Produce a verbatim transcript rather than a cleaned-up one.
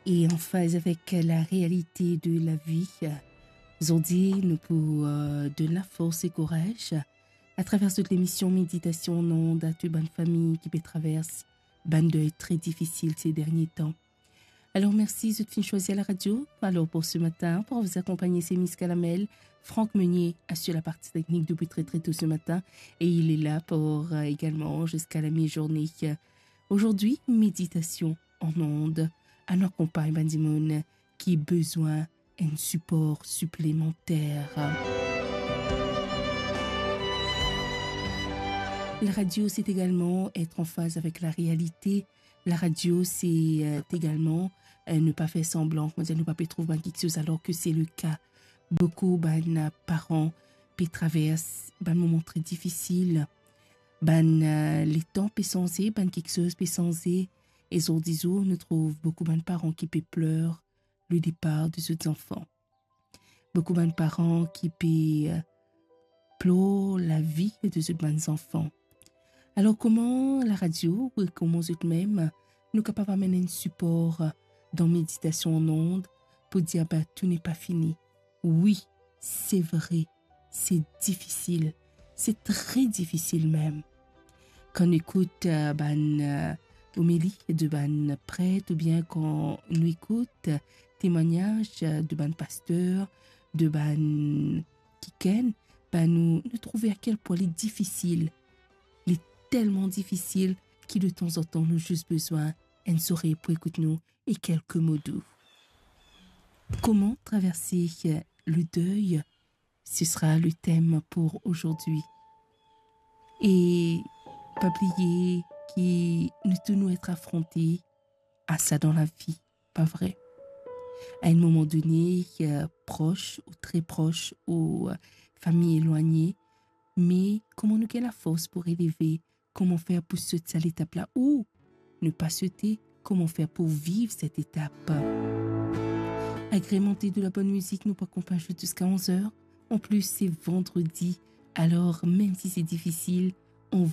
e an faz avek larealite de lavi. Zordi, nou pou, euh, donn lafors e kouraz atraver zot lemision Méditation en Ondes a tou bann fami ki pe travers bann dey tre difisil se dernie tan. Alor, mersi zot finn swazir laradio. Alor, pou se matin, pou zot akonpagne, se Miss Kalamel, Franck Meunier asir laparti teknik depi tre, tre to se matin, e li la pou, euh, egalman ziska lamizourne. Zordi, Méditation en Ondes, anou akonpagn bann dimoun ki bizin enn sipor siplemanter. Laradio, se egalman et an faz avek larealite. Laradio, se, euh, egalman, euh, ne pa fer sanblan, kouma dir, nou pa pe trouv bann kiksoz, alor ke se le ka. Boukou bann, euh, paran pe travers bann moman tre difisil. Bann, euh, letan pe sanze, bann kiksoz pe sanze. E zordi zour, nou trouv boukou bann paran ki pe pler le depar de zot zanfan. Boukou bann paran ki pe, euh, plor lavi de zot bann zanfan. Alor, kouma laradio ou kouma zot mem, nou kapav amenn enn sipor, euh, dan Méditation en Ondes pou dir, ba, tou n'est pas fini. Wi, se vre, se difisil, se tre difisil mem. Kan nou ekout, euh, bann, euh, omeli de bann pret, oubien kan nou ekout, euh, temwagnaz, euh, de bann paster, de bann kikenn, ba, nou, nou trouve a kel pwin li difisil. Li telman difisil ki de tanzantan nou zis bizin enn zorey pou ekout nou e kelke mo dou. Kouma traverse le dey, ce sera le thème pour aujourd'hui. E pa bliye ki nou tou nou et afronte a sa dan lavi, pa vre? A enn moman done, euh, pros ou tre pros ou, euh, fami elwagne, me kouma nou gagn lafors pou releve, kouma fer pou sot sa letap la ou ne pa sote, kouma fer pou viv set etap. Agrementé de la bonne musique, nou pou akonpagn zot ziska onz er. An plis, se vandredi, alor mem si se difisil, on va